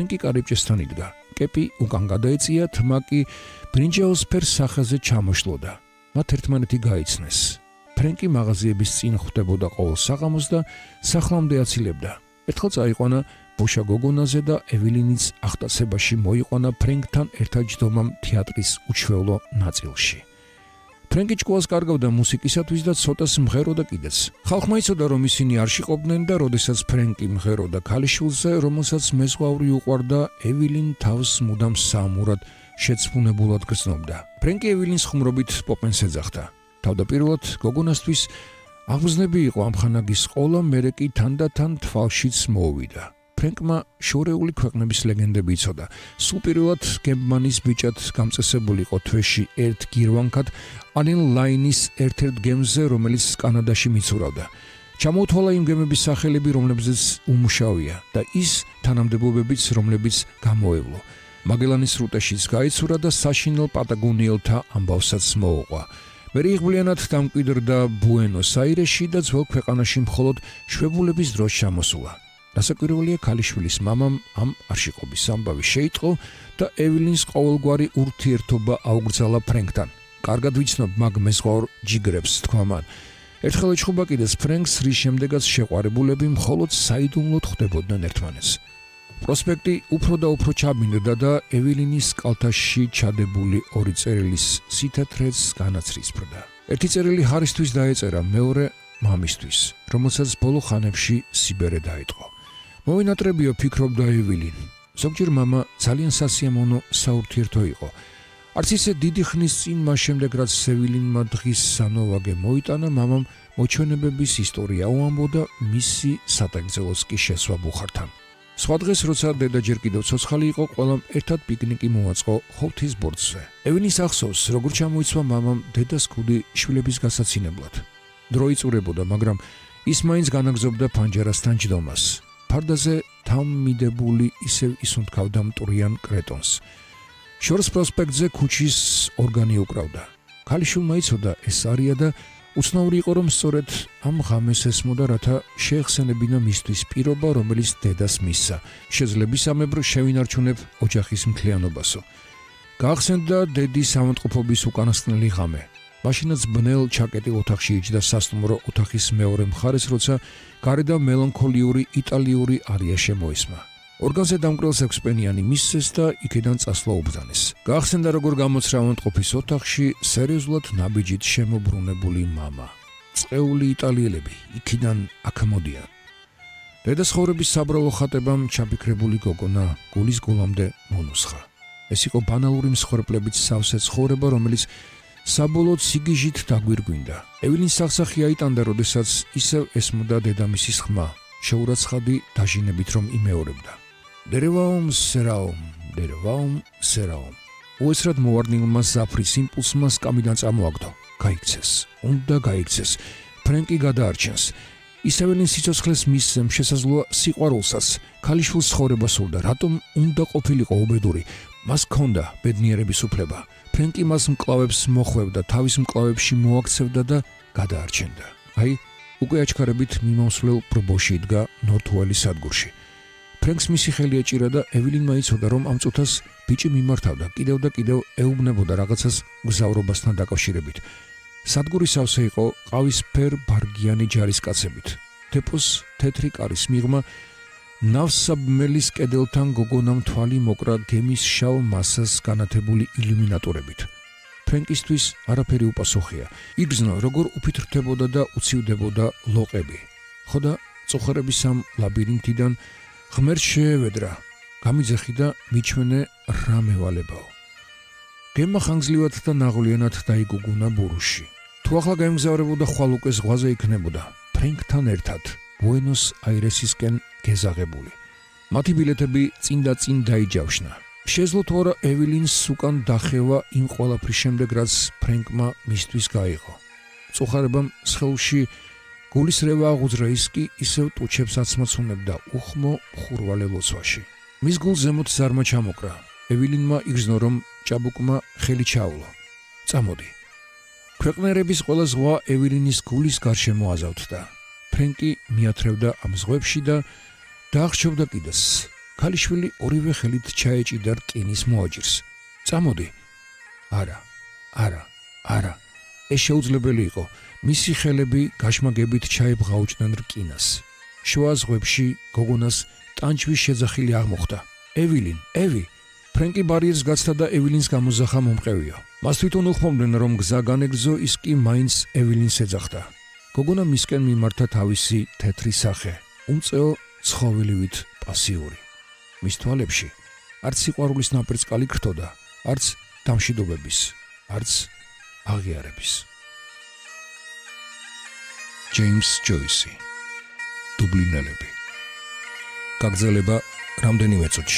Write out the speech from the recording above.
ფრენკი კარიბჭესთან იდგა. კეპი უკან გადაეწია, თმა კი ბრინჯაოსფერ სახეზე ჩამოშლოდა. მათ ერთმანეთი გაიცნეს. ფრენკი მაღაზიების წინ ხვდებოდა ყოველ საღამოს და სახლამდე აცილებდა. ერთხელ წაიყვანა ბოშა გოგონაზე და ევილინიც ახტაცებაში მოიყვანა ფრენკთან ერთად ჯდომამ თეატრის უჩვეულო ნაწილში. ფრენკი ჭკუას კარგავდა მუსიკისათვის და ცოტას მღეროდა კიდეც. ხალხმა იცოდა, რომ ისინი არ შიყოფდნენ და როდესაც ფრენკი მღეროდა ქალიშვილზე, რომელსაც მეზღვაური უყვარდა, ევილინ თავს მუდამ საამურად შეცვუნებულად გრძნობდა. ფრენკი ევილინს ხუმრობით პოპენს ეძახდა. თავდაპირველად გოგონასთვის აღგზნები იყო ამხანაგის ყოლა, მერე კი თანდათან თვალშიც მოუვიდა. ფრენკმა შორეული ქვეყნების ლეგენდები იცოდა. სულ პირველად გემბმანის ბიჭად გამწესებული იყო თვეში ერთ გირვანქად ანილ ლაინის ერთ-ერთ გემზე, რომელიც კანადაში მიცურავდა. ჩამოუთვალა იმ გემების სახელები, რომლებზეც უმუშავია და ის თანამდებობებიც, რომლებიც გამოევლო. მაგელანის სრუტეშიც გაიცურა და საშინელ პატაგონიელთა ამბავსაც მოუყვა. მერე იღბლიანად დამკვიდრდა ბუენოს-აირესში და ძველ ქვეყანაში მხოლოდ შვებულების დროს ჩამოსულა. რასაკვირველია, ქალიშვილის მამამ ამ არშიყობის ამბავი შეიტყო და ევილინს ყოველგვარი ურთიერთობა აუგრძალა ფრენკთან. კარგად ვიცნობ მაგ მეზღვაურ ჯიგრებს, თქვა მან. ერთხელ ეჩხუბა კიდეც ფრენკს, რის შემდეგაც შეყვარებულები მხოლოდ საიდუმლოდ ხვდებოდნენ ერთმანეთს. პროსპექტი უფრო და უფრო ჩაბინდდა და ევილინის კალთაში ჩადებული ორი წერილის სითეთრეც განაცრისფრდა. ერთი წერილი ჰარისთვის დაეწერა, მეორე მამისთვის, რომელსაც ბოლო ხანებში სიბერე დაიწყო. მოვინატრებიო, ფიქრობდა ევილინ. ზოგჯერ მამა ძალიან სასიამოვნო საურთიერთო იყო. არც ისე დიდი ხნის წინ, მას შემდეგ რაც ევილინმა დღის სანოვაგე მოიტანა, მამამ მოჩვენებების ისტორია უამბო და მისი სატაკრძელოს კი შესვა ბუხართან. სხვა დღეს, როცა დედა ჯერ კიდევ ცოცხალი იყო, ყველამ ერთად პიკნიკი მოაწყო ხოვთის ბორცვზე. ევილინს ახსოვს, როგორ ჩამოიცვა მამამ დედას ქუდი შვილების გასაცინებლად. დრო იწურებოდა, მაგრამ ის მაინც განაგრძობდა ფანჯარასთან ჯდომას. ფარდაზე თამმიდებული ისევ ისუნთქავდა მტვრიან კრეტონს. შორს პროსპექტზე ქუჩის ორგანი უკრავდა. ქალიშვილმა იცოდა ეს არია და უცნაური იყო, რომ სწორედ ამ ღამეს ესმოდა, რათა შეეხსენებინა მისთვის პირობა, რომელიც დედას მისცა. შეძლებისამებრ შევინარჩუნებ ოჯახის მთლიანობასო. გაახსენდა დედის ავადმყოფობის უკანასკნელი ღამე. მაშინაც ბნელ ჩაკეტილ ოთახში იჯდა სასტუმრო ოთახის მეორე მხარეს, როცა გარედან მელანქოლიური იტალიური არია შემოისმა. ორგანზე დამკვრელს 6 პენიანი მისცეს და იქიდან წასვლა უბრძანეს. გაახსენდა, როგორ გამოცრა ავადმყოფის ოთახში სერიოზულად ნაბიჯით შემობრუნებული მამა. წეული იტალიელები იქიდან აქ მოდიან. დედას ხოვრების საბრალო ხატებამ ჩაფიქრებული გოგონა გულის გულამდე მონუსხა. ეს იყო ბანალური მსხვერპლებით სავსე ცხოვრება, რომელიც საბოლოოდ სიგიჟით დაგვირგვინდა. ევილინს სახსახი აიტანდა, როდესაც ისევ ესმოდა დედამისის ხმა, შეურაცხადი დაჟინებით რომ იმეორებდა. დერევაომ სერაომ. უესრად მოვარდნილმა ზაფრის იმპულსმა სკამიდან წამოაგდო. გაიქცეს. უნდა გაიქცეს. ფრენკი გადაარჩენს. ის ევილინს სიცოცხლეს მისცემ, შესაძლოა სიყვარულსაც. ქალიშვილს ცხოვრება სურდა, რატომ უნდა ყოფილიყო უბედური. მას ჰქონდა ბედნიერების უფლება. ფრენკი მას მკლავებს მოხვევდა, თავის მკლავებში მოაქცევდა და გადაარჩენდა. აი, უკვე აჩქარებით მიმოსვლელ ბრბოში იდგა ნორთუელის სადგურში. ფრენკს მისი ხელი ეჭირა და ევილინმა იცოდა, რომ ამ წუთას ბიჭი მიმართავდა, კიდევ და კიდევ ეუბნებოდა რაღაცას გზავრობასთან დაკავშირებით. სადგური სავსე იყო ყავისფერ ბარგიანი ჯარისკაცებით. დეპოს თეთრი კარის მიღმა ნავსაბმელის კედელთან გოგონამ თვალი მოკრა გემის შავ მასას განათებული ილუმინატორებით. ფრენკისთვის არაფერი უპასუხია. იგრძნო, როგორ უფითრდებოდა და უცივდებოდა ლოყები. ხოდა წუხერების ამ ლაბირინთიდან ღმერთს შეევედრა, გამიძახი და მიჩვენე რა მევალებაო. გემმა ხანგრძლივად და ნაღვლიანად დაიგუგუნა ბურუში. თუ ახლა გაემგზავრებოდა, ხვალ უკვე ზღვაზე იქნებოდა, ფრენკთან ერთად, ბუენოს-აირესისკენ გეზაღებული. მათი ბილეთები წინ და წინ დაიჯავშნა. შეძლო თუ არა ევილინს უკან დახევა იმ ყველაფრის შემდეგ, რაც ფრენკმა მისთვის გაიღო. წუხარებამ სხეულში გულის რევა აღუძრა, ის კი ისევ ტუჩებს აცმოცუნებდა უხმო ხურვალე ლოცვაში. მის გულს ზემოთ ზარმა ჩამოკრა. ევილინმა იგრძნო, რომ ჭაბუკმა ხელი ჩაულა. წამოდი. ქვეყნერების ყველა ზღვა ევილინის გულის გარშემო აზავთდა. ფრენკი მიათრევდა ამ ზღვებში და დაახშობდა კიდეს. ქალიშვილი ორივე ხელით ჩაეჭიდა რკინის მოაჯირს. წამოდი. არა. ეს შეუძლებელი იყო. მისი ხელები გაშმაგებით ჩაებღაუჭდნენ რკინას. შუა ზღვებში გოგონას ტანჩვის შეძახილი აღმოხდა. ევი! ფრენკი ბარიერს გაცდა და ევილინს გამოზახა მომყევია. მას თვითონ უხმობდნენ, რომ გზა განეგრძო, ის კი მაინც ევილინს ეძახდა. გოგონა მისკენ მიმართა თავისი თეთრი სახე, უმწეო ცხოველივით პასიური. მის თვალებში არც სიყვარულის ნაპერწკალი ქრთოდა, არც დამშვიდობების, არც აღიარების. ჯეიმს ჯოისი. დუბლინელები. გაგრძელება რამდენიმე წუთში.